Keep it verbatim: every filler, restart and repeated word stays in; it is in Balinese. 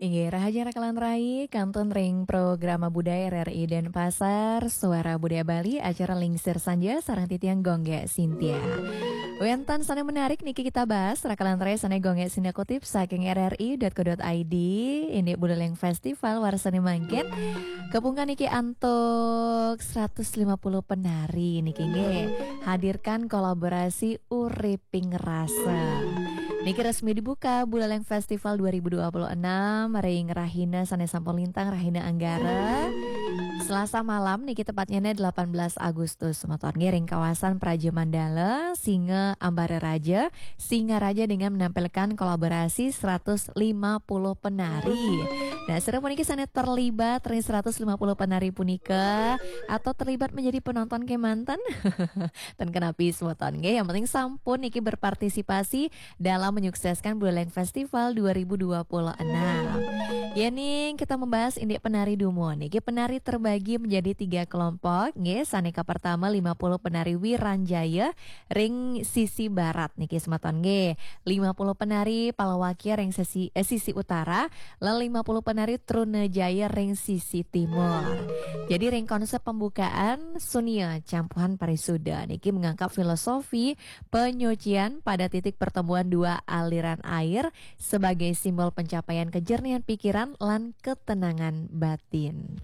Inggih, rahajeng raka lan rai, kantun ring programa budaya R R I Denpasar, Suara Budaya Bali, acara Lingsir Sanja, sareng titiang Gung Gé Cynthia. Wénten sané menarik niki kita bahas, raka lan rai, sané Gung Gé Cynthia kutip saking R R I dot co dot I D, indik Buleleng Festival warsané mangkin. Kapungkur niki antuk seratus lima puluh penari niki nggih. Hadirkan kolaborasi Uriping Rasa. Niki resmi dibuka Buleleng Festival dua ribu dua puluh enam ring rahina sané sampun lintang, rahina Anggara. Selasa malam niki, tepatnya delapan belas Agustus, semeton nggih, ring kawasan Praja Mandala, Singa Ambara Raja, Singaraja, dengan menampilkan kolaborasi seratus lima puluh penari. Nah, sira puniki sané terlibat ring seratus lima puluh penari punika atau terlibat menjadi penonton kémanten? Ten kenapi semeton nggih, yang penting sampun niki berpartisipasi dalam menyukseskan Buleleng Festival dua ribu dua puluh enam. Yéning kita membahas indik penari dumun, niki penari terbagi menjadi tiga kelompok nggih, sané kapertama lima puluh penari Wiranjaya ring sisi barat niki semeton nggih, lima puluh penari Palawakya ring sisi, eh, sisi utara, lan lima puluh penari Trunajaya ring sisi timur. Jadi ring konsep pembukaan, Sunia Campuhan Parisuda niki mengangkat filosofi penyucian pada titik pertemuan dua aliran air sebagai simbol pencapaian kejernihan pikiran lan ketenangan batin.